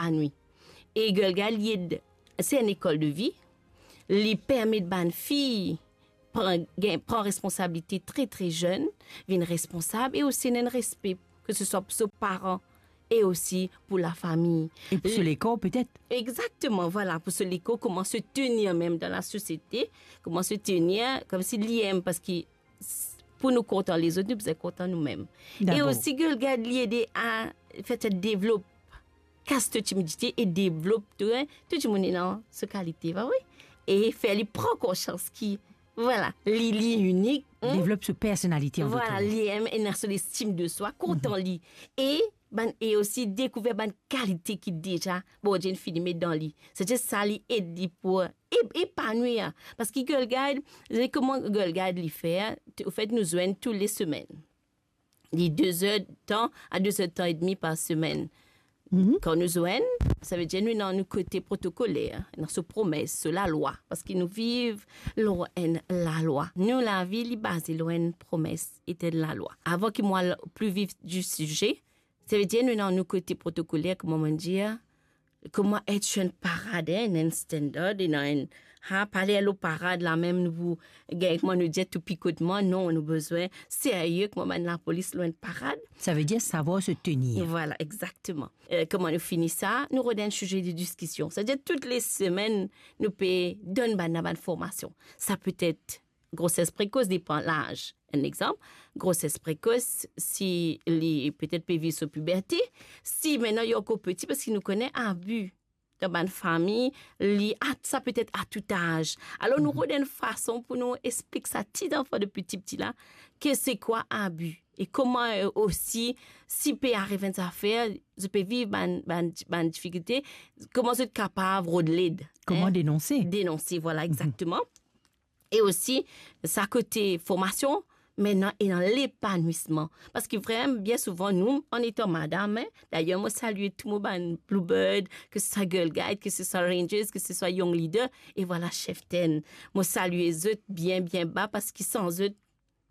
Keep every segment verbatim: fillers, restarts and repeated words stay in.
epanwi. E Girl Guide, li ed, se enn lekol de vi, li permet bann fi pran, gagn, pran responsabilite tre, tre zenn, vinn responsab e osi ena enn respe, ke se swa pou so paran e osi pou lafami. E pou so lekor, petet. Egzakteman, vwala, pou so lekor, kouma se tenir mem dan lasosiete, kouma se tenir, koumsi li mem, parski s-, pou nou kontan lezot, nou bizin kontan noumem. E osi, Girl Guide, li ede a fer sa devlop, kas to timidite e devlop to, tou dimoun ena so kalite, pa vre? E fer li pran konsians ki, vwala, li, li inik, hmm? Devlop so personalite, an dot mo. Vwala, li mem ena so lestim de swa, kontan li. E bann, e osi dekouver bann kalite ki deza Bondie inn fini met dan li. Setadir sa li ed li pou e-, epanwir. Parski Girl Guide, se kouma Girl Guide li fer, t-, anfet, nou zwenn tou le semenn. Li de zer tan a de zer tan edmi par semenn. Kan nou zwenn, savedir nou ena nou kote protokoler, ena so promes, so lalwa, parski nou viv lor enn lalwa. Nou lavi, li baze lor enn promes, et enn lalwa. Avan ki mo al pli vif di size, savedir nou ena nou kote protokoler, kouma mo dir, kouma et enn parad, enn, enn standard, ena enn, ha, pa aler lor parad la mem, nou pou gagn, kouma nou dir, tou pikotman, non, nou bizin serye, kouma bann lapolis lor enn parad. Savedir savwar se tenir. Vwala, egzakteman. Eh, kouma nou fini sa, nou rod enn size de diskision. Savedir tou le semenn, nou pe donn bann, bann formasion. Sa petet groses prekos, depan laz. Enn exanp, groses prekos, si li petet pe viv so piberte, si aster li ankor piti, parski nou kone abi dan bann fami, li a, sa petet a tou az. Alor, nou rod enn fason pou nou explik sa ti zanfan depi tipti la, ke se kwa abi. E kouma, eh, osi, si pe ariv enn zafer, zot pe viv bann, bann, bann difikilte, kouma zot kapav rod led. Kouma denonse. Denonse, vwala, egzakteman. E osi, sa kote formasion, me ena, ena lepanwisman. Parski vremem, bien souvan, nou, an etan madam, eh, dayer, mo salie tou mo bann Bluebird, ke se swa Girl Guide, ke se swa Rangers, ke se swa Young Leader, e vwala, Chieftain. Mo salie zot bien, bien ba, parski san zot,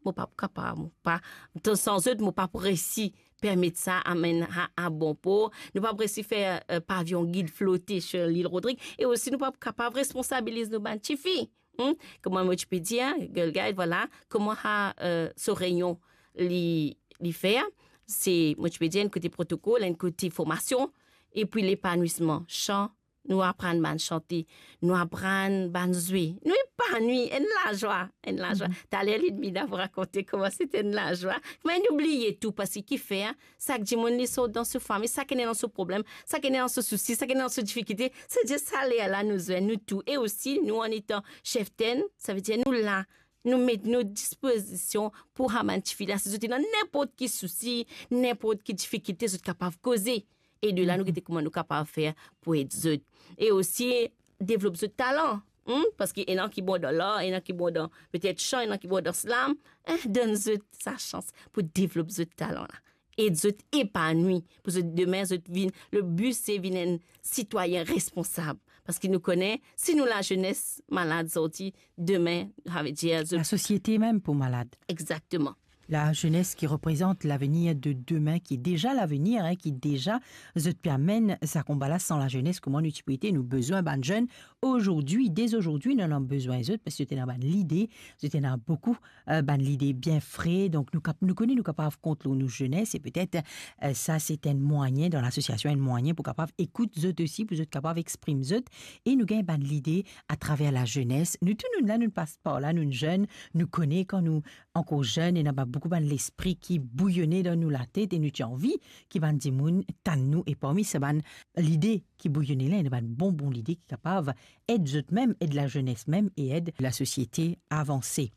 mo pa pou kapav, mo pa, tan san zot, mo pa pou resi permet sa amenn a, a bon por. Nou pa pou resi fer, eh, pavion gid flote sir Lil Rodrig. E osi, nou pa pou kapav responsabiliz nou bann tifi. Hmm? Kouma mo ti pe dir, Girl Guide, vwala, kouma sa, eh, so reynon li, li fer, se, mo ti pe dir, enn kote protokol, enn kote formasion, epi lepanwisman, san nou aprann bann sante, nou aprann bann zwe, nou epanwi, enn lazwa, enn lazwa. Taler, Ludmila pou rakonte kouma se enn lazwa. Me nou bliye tou, parski kifer, sak dimoun li sort dan so fami, sakenn ena so problem, sakenn ena so sousi, sakenn ena so difikilte, se zis sa lerla nou zwenn, nou tou. E osi, nou, an etan Chieftain, savedir nou la, nou met nou dispozision pou sa bann tifi la, si zot ena ninport ki sousi, ninport ki difikilte, zot kapav koze. E de la, nou gete kouma nou kapav fer pou ed zot. E osi, devlop zot talan. Hmm? Parski ena ki bon dan lar, ena ki bon dan petet san, ena ki bon dan slam. Eh, donn zot sa sans pou devlop zot talan la. Ed zot epanwi, pou zot demin, zot vinn, le bi se vinn enn sitwayin responsab. Parski nou kone, si nou lazenes malad zordi, demin, savedir zot... Lasosiete mem pou malad. Egzakteman. Lazenes ki reprezant lavenir de demin, ki deza lavenir, hein, ki deza zot pe amenn sa konba la. San lazenes, kouma nou ti pou ete? Nou bizin bann zenn azordi, dezordi, nou ena bizin zot, parski zot ena bann lide, zot ena boukou, eh, bann lide bien fre. Donk, nou kap-, nou kone nou kapav kont lor nou zenes, e petet, eh, sa se enn mwayin dan lasosiasion, enn mwayin pou kapav ekout zot osi, pou zot kapav exprim zot, e nou gagn bann lide atraver lazenes. Nou tou, nou la, nou pas par la, nou zenn, nou kone kan nou ankor zenn, ena ba-, boukou bann lespri ki bouyone dan nou latet e nou ti anvi ki bann dimoun tann nou, e parmi sa bann lide ki bouyone la, ena bann bon, bon lide ki kapav ed zot mem, ed lazenes mem e ed lasosiete avanse.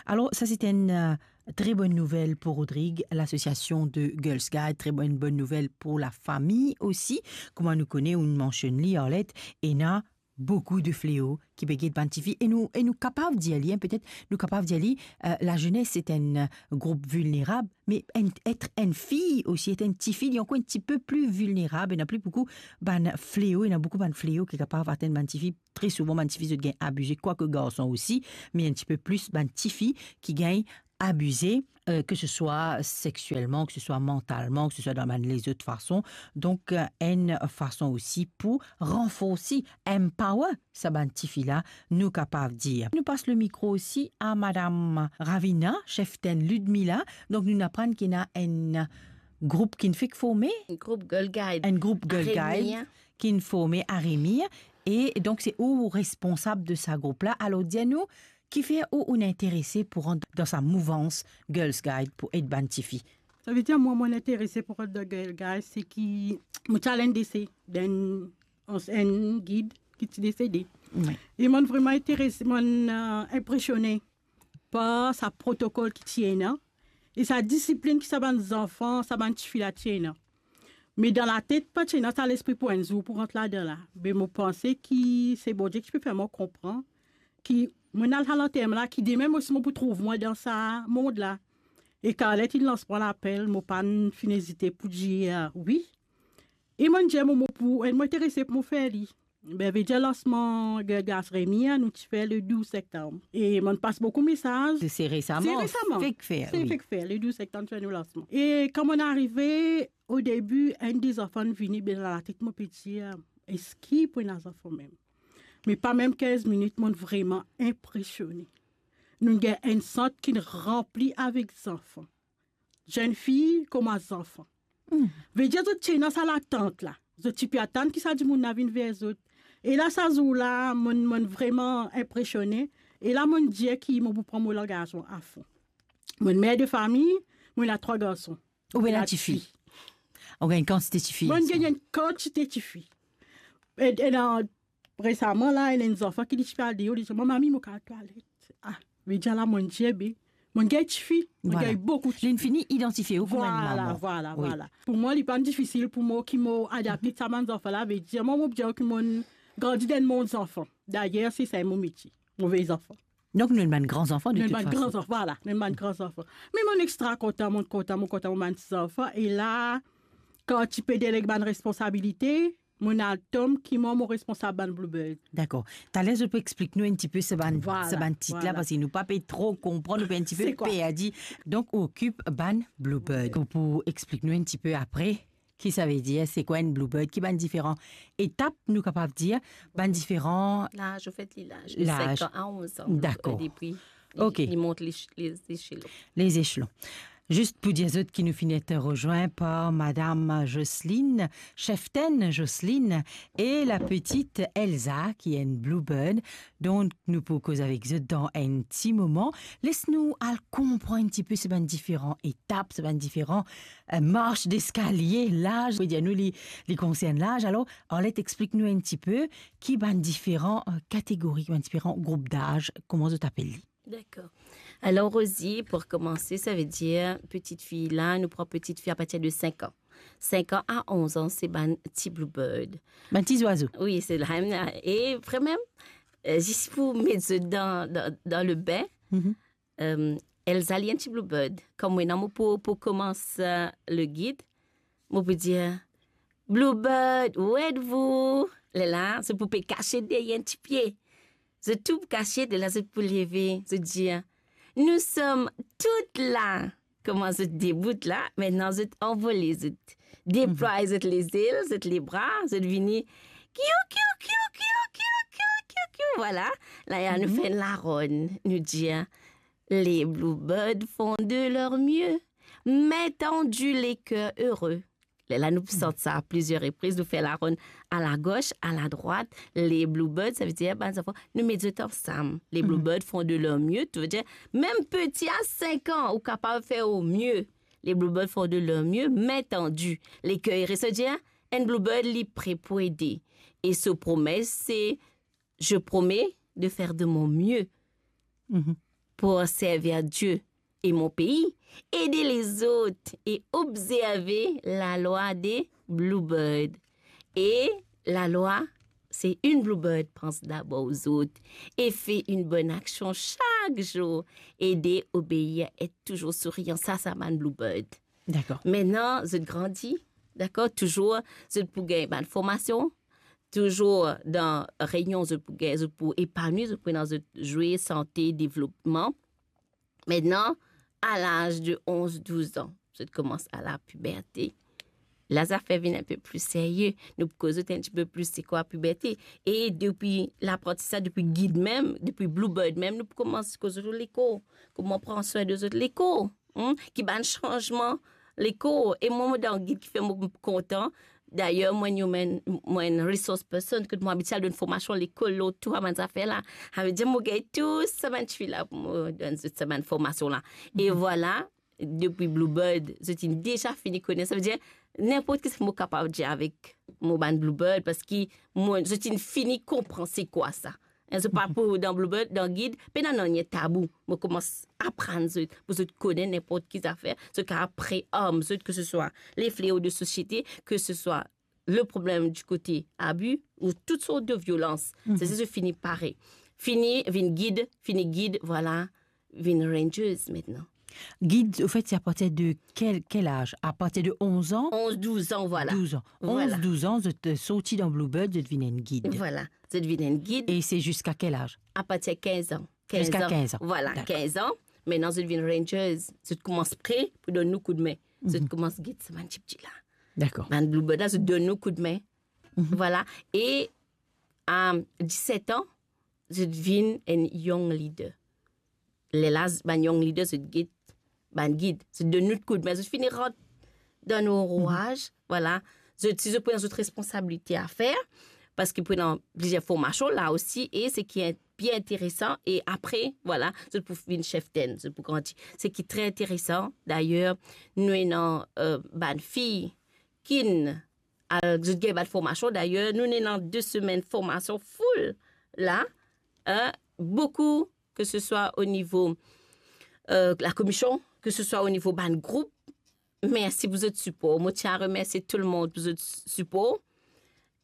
Alor, sa se enn, eh, tre bonn nouvel pou Rodrig, lasosiasion de Girls Guide, tre bonn, bonn nouvel pou lafami osi. Kouma nou kone, ou mansionn li, Arlette, ena boukou de fleo ki pe get bann tifi. E nou, e nou kapav dir li, hein, petet nou kapav dir li, eh, lazenes se enn, eh, group vilnerab, me enn, et enn fi osi, et enn tifi, li ankor enn tipe pli vilnerab, ena pli boukou bann fleo, ena boukou bann fleo ki kapav atenn bann tifi. Tre souvan, bann tifi, zot gagn abize, kwake garson osi, me enn tipe plis bann tifi ki gagn abize, euh, ke se swa sekselman, ke se swa mantalman, ke se swa dan bann lezot fason. Donk, euh, enn fason osi pou ranforsi, empower sa bann tifi la, nou kapav dir. Nou pas le mikro osi a Madam Ravina, cheftenn Ludmila. Donk, nou aprann ki ena enn group ki'nn fek forme. Group Girl Guide. Enn group Girl Guide ki'nn forme a Remire. E donk, se ou responsab de sa group la. Alor, dir nou, kifer ou, ou'nn interese pou rant dan sa mouvans Girls Guide pou ed bann tifi? Savedir, mwa, mo'nn interese pou rant dan Girl Guide, se ki mo ti al enn dese d'enn, enn gid ki ti desede. Wi. E mo'nn vreman interese, mo'nn, euh, inpresione par sa protokol ki ti ena e sa disiplinn ki sa bann zanfan, sa bann tifi la ti ena. Me dan latet, pa ti ena sa lespri pou enn zour pou rant ladan la. Me mo panse ki se Bondie ki ti pe fer mwa konpran ki mo'nn al sa lanterman la, ki demin mo osi mo pou trouv mwa dan sa mond la. E Carlette inn lans mwa lapel, mo pa'nn finn ezite pou dir, euh, wi. E mo'nn dir mo, mo pou, e mo interese pou mo fer li. Be, vedir lansman Girl Guide Remire, nou ti fer le douz septanm. E mo'nn pas boukou mesaz. Se, se resaman. Se resaman. Fek fer, se wi. Fek fer, le douz septanm, ti fer nou lansman. E kan mo'nn arive, o debi, enn de zanfan vini, be dan latet mo pe dir, eski pou ena zanfan mem? Me pa mem kinz minit, mo'nn vreman inpresione. Nou'nn gagn enn sant ki'nn ranpli avek zanfan. Zennfi kouma zanfan. Hmm. Vedir zot ti ena sa latant la. Zot ti pe atann ki sa dimoun la vinn ver zot. E la, sa zour la, mo'nn, mo'nn vreman inpresione. E la, mo'nn dir ki mo pou pran mo langazman afon. Mo'nn mer de fami, mo ena trwa garson. Ou ena tifi? Ou gagn kantite tifi? Mo'nn gagn enn kantite tifi. E, e la, resaman la, ena enn zanfan ki li ti pe al deor, li dir, "Mwa, mami, mo kav al twalet." Ah, vedir la, mo'nn dir, be, mo'nn gagn tifi, mo'nn gagn boukou tifi. Li'nn fini idantifie ou kouma enn mama. Vwala, vwala. Pou mwa, li pa'nn difisil pou mo ki mo adapte sa bann zanfan la, vedir, mwa, mo pe dir ki mo'nn grandi dan enn mond zanfan. Dayer, se sa mo metie, mo vey zanfan. Donk, nou enn bann gran zanfan, de tout fason. Nou enn bann gran zanfan, vwala, nou enn bann gran zanfan. Me mo'nn extra kontan, mo'nn kontan, mo'nn kontan, mo bann ti zanfan. E la, kan ti pe deleg bann responsabilite, mo'nn al tom ki mwa mo responsab bann Bluebird. Dakor. Taler, zot pou explik nou enn tipe sa bann, vwala, sa bann tit la, vwala, parski nou pa pe tro konpran, nou pe enn tipe perdi. Donk, ou okip bann Bluebird. Ou pou explik nou enn tipe apre, ki savedir, se kwa enn Bluebird, ki bann diferan etap, nou kapav dir, bann diferan... Laz, anfet, li laz. Laz. Senk an a onz an. Dakor. Depi li, li mont les, les echelon. Les echelon. Zis pou dir zot ki nou finn et rezwin par Madam Jocelyne, cheftenn Jocelyne, e la petit Elsa, ki enn Bluebird. Donk, nou pou koz avek zot dan enn ti moman. Les nou al konpran enn tipe sa bann diferan etap, sa bann diferan, euh, marsh deskalie, laz, pou dir nou li, li konsern laz. Alor, Arlette, explik nou enn tipe ki bann diferan, euh, kategori, ki bann diferan group daz, kouma zot apel li? Dakor. Alor, Rosie, pou koumanse, savedir, petit fi la, nou pran petit fi a partir de senk an. Senk an a onz an, se bann ti Bluebird. Bann ti zwazo. Wi, se la mem. E vremem, euh, zis pou met zot dan, dan, dan le bin, euh, Elsa, li enn ti Bluebird. Kom mwa, mo pou, pou koumans, euh, le gid, mo pou dir, "Bluebird, où êtes-vous?" Lerla, zot pou pe kasiet deryer enn ti pie. Zot tou pou kasiet, lerla zot pou leve, zot dir, "Nous sommes toutes là." Kouma zot debout la, aster zot anvole, zot deplwaye zot lezel, zot lebra, zot vini, kiou, kiou, kiou. Vwala, la, nou fer enn laronn, nou dir, "Les Bluebirds font de leur mieux, main tendue, les cœurs heureux." Lerla nou pou sant sa a plizier repriz, nou fer laronn a la gos, a la drwat, les Bluebirds, savedir, bann zanfan, nou met zot ansam. Les Bluebirds font de leur mieux, savedir, mem piti a senk an, ou kapav fer o mie. Les Bluebirds font de leur mieux, main tendue, les cœurs heureux, savedir, enn Bluebird, li pre pou ede. E so promes, se, "Je promets de faire de mon mieux pour servir Dieu et mon pays, aider les autres et observer la loi des Bluebirds." E lalwa, se enn Bluebird, pans dabor zot e fer enn bonn aksion sak zour, ede, obeir, et touzour sourian. Sa, sa bann Bluebird. Dakor. Aster zot grandi, dakor, touzour zot pou gagn bann formasion, touzour dan reyinion zot pou gagn, zot pou epanwi, zot pou ena zot zwe, sante, devlopman. Aster, a laz de onz, douz an, zot koumans a la piberte. La zafer vinn enn pe pli serye. Nou pou koz zot enn tipe plis se kwa piberte. E depi laprantisaz, depi gid mem, depi Bluebird mem, nou pou koumans koz zot lekor, kouma pran swin de zot lekor, hmm? Ki bann sanzman lekor. E mwa, mo dan gid ki fer mo kontan. Dayer, mwa, enn human, mwa, enn resource person, kot mo abitie al donn formasion lekol lor tou sa bann zafer la. Savedir mo gagn tou sa bann tifi la pou mo donn zot sa bann formasion la. E vwala, depi Bluebird, zot inn deza fini kone. Savedir, ninport ki mo kapav dir avek mo bann Bluebird, parski mo, zot inn fini konpran se kwa sa. Hein, zot pa pou dan Bluebird, dan gid, pena nanye tabou. Mo koumans aprann zot, pou zot kone ninport ki zafer, zot kapav prearm zot, ke se swa le fleo de sosiete, ke se swa le problem di kote abi ou tout sort de violans. Mhm. Se, se fini pare. Fini vinn gid, fini gid, vwala, vinn rangers aster. Gid, anfet, se apartir de kel, kel laz? Apartir de onz an? Onz, douz an, vwala. Douz an. Vwala. Onz, douz an, zot, euh, sorti dan Bluebird, zot vinn enn gid. Vwala, zot vinn enn gid. E se ziska kel laz? Apartir kinz an. Kinz an. Ziska kinz an. Vwala, dakor. Kinz an. Aster, zot vinn rangers. Zot koumans pre pou donn nou koudme. Zot, mhm, koumans gid sa bann tipti la. Dakor. Bann Bluebird la, zot donn nou koudme. Mhm. Vwala. E, a diset an, zot vinn enn young leader. Lerla, bann young leader, zot gid, bann gid, zot donn nou koudme, zot fini rant dan nou, mhm, rouaz, vwala. Zot, si zot pran zot responsabilite a fer, parski pou ena plizier formasion la osi, e seki bien interesan, e apre, vwala, zot pou vinn cheftenn, zot pou grandi. Seki tre interesan, dayer, nou ena, euh, bann fi kinn al, zot gagn bann formasion. Dayer, nou ena de semenn formasion full la, hein, boukou, ke se swa o nivo, euh, lakomision, ke se swa o nivo bann group. Mersi pou zot sipor. Mo ti a remersie tou lemonn pou zot sipor,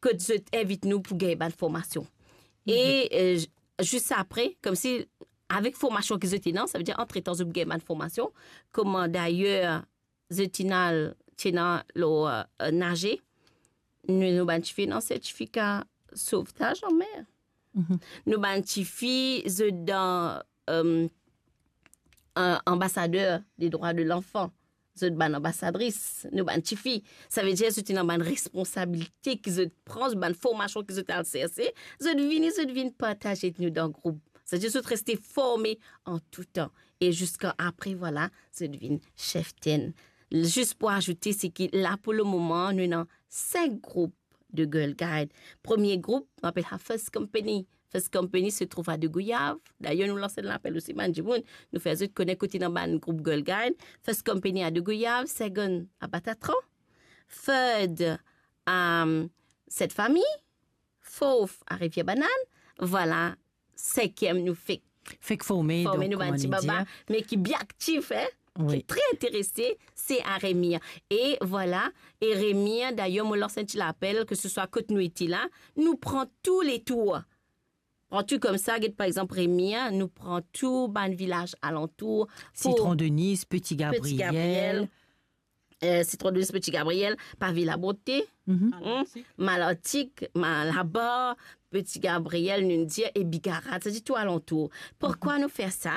kot zot invit nou pou gagn bann formasion. E, mhm, euh, j-, zis apre, koumsi avek formasion ki zot ena, savedir antretan zot gagn bann formasion, kouma dayer zot inn al, ti ena lor, euh, naze. Nou, nou bann tifi ena sertifika sovtaz anmer. Mhm. Nou bann tifi, zot dan, euh, an-, anbasader de drwa de lanfan. Zot bann anbasadris, nou bann tifi. Savedir zot ena bann responsabilite ki zot pran, bann formasion ki zot al serse, zot vini, zot vinn partaze ek nou dan group. Savedir zot reste forme an tou tan. E ziska apre, vwala, zot vinn cheftenn. Zis pou azoute, seki la pou lemoman, nou ena sink group de Girl Guide. Premie group, nou apel sa First Company. First Company se trouv a De Gouyave. Dayer, nou lans enn lapel osi bann dimoun, nou fer zot kone kot ena bann group Girl Guide. First Company a De Gouyave, second a Batatran, third a, euh, Sent Fami, fourth a Rivier Banane. Vwala, sinkiem nou fek forme, forme, donk, nou bann ti baba, me ki bien aktif, hein, wi, ki tre interese, se a Remir. E vwala, e Remir, dayer, mo lans enn ti lapel, ke se swa kot nou ete la, nou pran tou le tour. Pran tou koumsa, get par exanp Remir, nou pran tou bann vilaz alantour, Sitron de Nis, Petit Gabriel, euh, Sitron de Nis, Petit Gabriel, Pavé Labonté, mhm, hmm, Malartic, Malabar, Petit Gabriel, nou dir, e Bigarat, savedir tou alantour. Poukwa nou fer sa?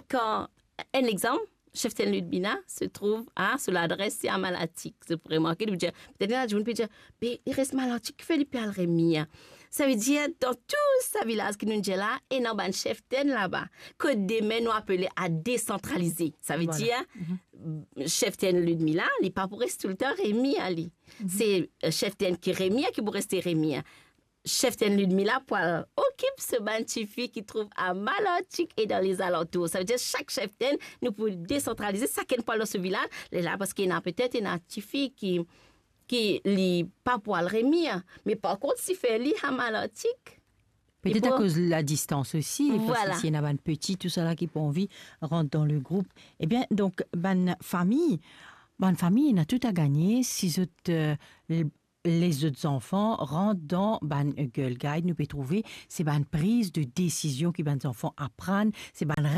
Kan, enn exanp, Cheftenn Ludmila se trouv a, so ladres se a Malartic. Zot pou remarke, nou dir, petet ena dimoun pe dir, "Be, li res Malartic, kifer li pe al Remir?" Savedir, dan tou sa vilaz ki nou dir la, ena bann cheftenn laba. Kot demin nou apele a desantralize. Savedir, vwala, mhm, cheftenn Ludmila, li pa pou res toultan Remir, li. Mhm. Se, euh, cheftenn ki Remir ki pou reste Remir. Cheftenn Ludmila pou al okip so bann tifi ki trouv a Malartic e dan lezalantour. Savedir sak cheftenn, nou pou desantralize, sakenn pou al dan so vilaz. Lerla, parski ena petet ena tifi ki, ki li pa pou al Remir, me par kont, si fer li a Malartic, petet akoz ladistans osi, parski, vwala, si ena bann peti, tousala ki pou anvi rant dan le group. Ebien, donk, bann fami, bann fami ena tou a gagne si zot, euh, les zot zanfan rant dan bann Girl Guide, nou pe trouve se bann priz de desizion ki bann zanfan aprann, se bann